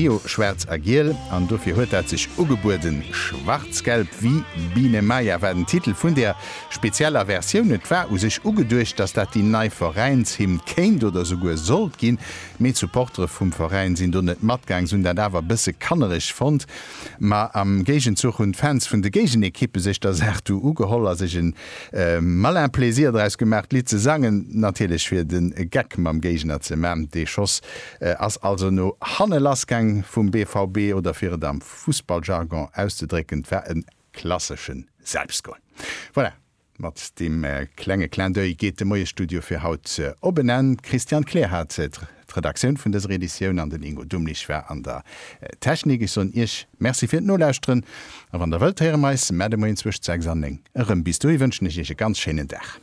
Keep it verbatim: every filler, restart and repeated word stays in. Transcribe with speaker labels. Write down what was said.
Speaker 1: Rio schwaarz a giel an dofir huet dat sech ugebueden. Schwarzgelb wie Biene Maya war den Titel vun där spezieller Versioun. Et war u sech ugeduecht, dass dat déi nei Veräinshymn kéint oder souguer sollt ginn, mee d'Supportere vum Veräin sinn do net matgaang. Se hunn dat awer e bësse kannereg fonnt. Ma am Géigenzuch hunn d'Fans vun de Géigenekippe sech der Saach du ugeholl a sech e malin Plaisir draus gemaach, d'Lidd ze sangen, natierlech fir de Geck mam Géigner ze man. Dee Schoss ass also no hanne lassgaang vum B V B, oder fir et am Fussballjargon auszedrécken, et war e klassesche Selbstgol. Voilà, mat deem klenge Clin d'oeil geet de Moiesstudio fir haut op en Enn. D'Christiane Kleer hat d'Redaktioun vun dëser Editioun an den Ingo Dumlich war an der Technik. Ech soen Iech Merci fir d'Nolauschteren a wann Der wëllt, héiere mer eis mar de Moien zwëscht sechs an néng erëm. Bis dohi wënschen ech Iech e ganz schéinen Dag.